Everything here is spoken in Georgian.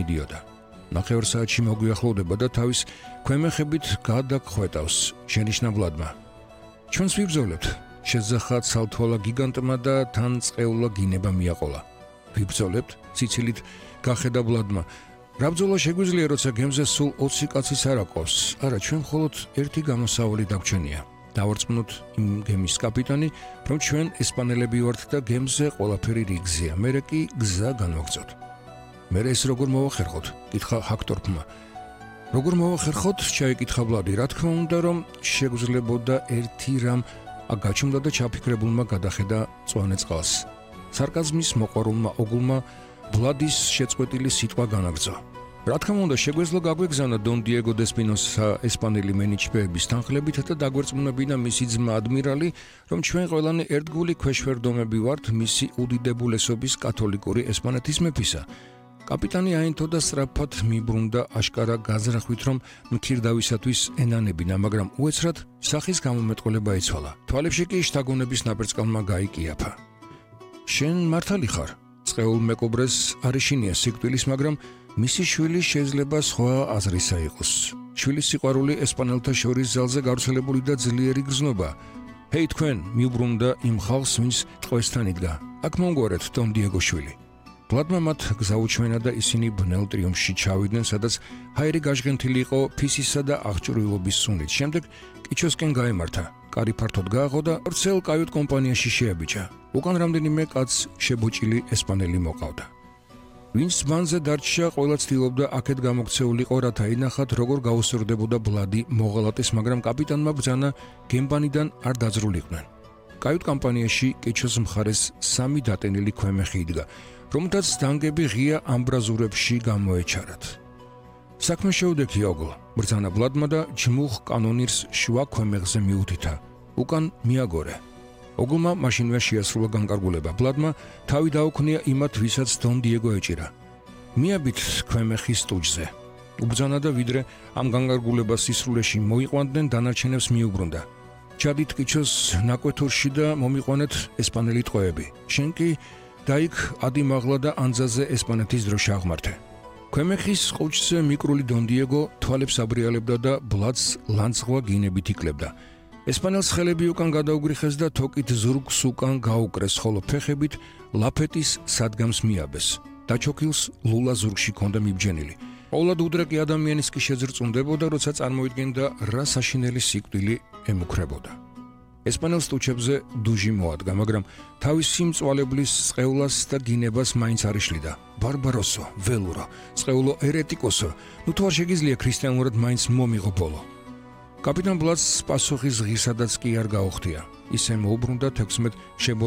მიდიოდა. ნახევარსაათში მოგვიახლოვდება და თავის ქვემეხებით გადაგხვეტავს შენიშნაბლადმა. ჩვენს ვიბრძოლებთ, შეძახა ცალთვალა გიგანტმა და თან წყეულა გინება მიაყოლა. ვიბრძოლებთ, ციცილით გახედა ბლადმა. რა ბრძოლა შეგვიძლია, როცა გემზე სულ 20 კაცის არ აყავს? არა, ჩვენ მხოლოდ ერთი გამოსავალი დაგვრჩენია. დავარწმუნოთ იმ გემის კაპიტანი, რომ ჩვენ ესპანელები ვართ და გემზე ყველაფერი რიგზეა. მერე კი გზა განვაგრძოთ. მერე ეს როგორ მოვახერხოთ? კითხა ჰაქტორფმა. როგორ მოვახერხოთ? ჩაიკითხა ბლადი. რა თქმა უნდა, რომ შეგვძლებოდა ერთი რამ გაჩუმდა და ჩაფიქრებულმა გადახედა წვანე წყალს. სარკაზმის მოყვარულმა ოგულმა ბლადის შეწყვეტილი სიტყვა განაგრძო. რა თქმა უნდა, შეგვეძლო გაგვეგზავნა დონ დიეგო დესპინოსა ესპანელი მენიჩბეების თანხლებით და დაგვერწმუნებინა მისი ძმა ადმირალი, რომ ჩვენ ყველანი ერთგული ქვეშვერდომები ვართ მისი უდიდებულესობის კათოლიკური ესპანეთის მეფისა. კაპიტანი აინთო და სწრაფად მიბრუნდა აშკარა გაზრახვით, რომ მქირდავისათვის ენანებინა, მაგრამ უეცრად სახის გამომეტყველება იცვალა. თვალებში კი შთაგონების ნაპერწკალმა გაიკიაფა. შენ მართალი ხარ? წყეულ მეკობრეს არ ეშინია სიკვდილის, მაგრამ მისი შვილი შეიძლება სხვა აზრისა იყოს. შვილის სიყვარული ესპანელთა შორის ძალზე გავრცელებული და ძლიერი გრძნობა. ჰეი თქვენ, მიუბრუნდა იმ ხალხს, ვინც ტყვესთან იდგა. აქ მომგვარეთ დონ დიეგო შვილი. ბლადმა მათ გზაუჩვენა და ისინი ბნელ ტრიუმფში ჩავიდნენ, სადაც ჰაერი გაჟღენთილი იყო ფისისა და აღჭურვილობის სუნით. შემდეგ კიჩოსკენ გაემართა. კარი ფართოდ გააღო და ორცელ კაიუტ კომპანიაში შეაბიჭა. უკან რამდენიმე კაცს შებოჭილი ესპანელი მოყავდა. ვინც მანზე დარჩა, ყველა ცდილობდა აქეთ გამოქცეულიყო, რათა ინახათ, როგორ გაუსწორდებოდა ბლადი მოღალატეს, მაგრამ კაპიტანმა ბრძანა გემბანიდან არ დაძრულიყვნენ. კაიუტ კომპანიაში კიჩოს მხარეს 3 დატენილი ქვემეხი იდგა, რომთაც დანგები ღია ამბრაზურებში გამოეჩარათ. საქმე შეუდექი ოგლ, ბრძანა ბლადმა და ჯმუხ კანონირს შუა ქვემეხზე მიუთითა. უკან მიაგორე. ოგლმა მაშინვე შეასრულა განკარგულება. ბლადმა თავი დაუქნია იმათ, ვისაც დონ დიეგო ეჭირა. მიაბით ქვემეხის სტუჯზე. უბრძანა და ვიდრე ამ განკარგულებას სისრულეში მოიყვანდნენ, დანარჩენებს მიუბრუნდა. ჩადით კიჩოს ნაკვეთურში და მომიყვანეთ ესპანელი ტყვეები. შენ კი დაიქ ადიმაღლა და ანძაზე ესპანეთის დროშა აღმართე. ქვემეხის ყუჩზე მიკრული დონ დიეგო თვალებს აბრიალებდა და ბლადს ლანცღვა გინებით იკლებდა. ესპანელს ხელები უკან გადაუგრიხეს და თოკით ზურგს უკან გაუკრეს, ხოლო ფეხებით ლაფეტის სადგამს მიაბეს. დაჩოქილს ლულა ზურგში ჰქონდა მიბჯენილი. ყოვლად უდრეკი ადამიანის კი შეძრწუნდებოდა, როცა წარმოიდგენდა რა საშინელი სიკვდილი ემუქრებოდა. ესპანელს ტუჩებზე დუჟი მოადგა, მაგრამ თავისი მწვალებლის წყეულას და გინებას მაინც არ იშლიდა. ბარბაროსო, ველურო, წყეულო ერეტიკოსო, ნუ თუ არ შეგიძლია ქრისტიანულად მაინც მომიღო ბოლო. კაპიტან ბლადს პასუხის ღირსადაც კი არ გაუხდია. ისე მოუბრუნდა 16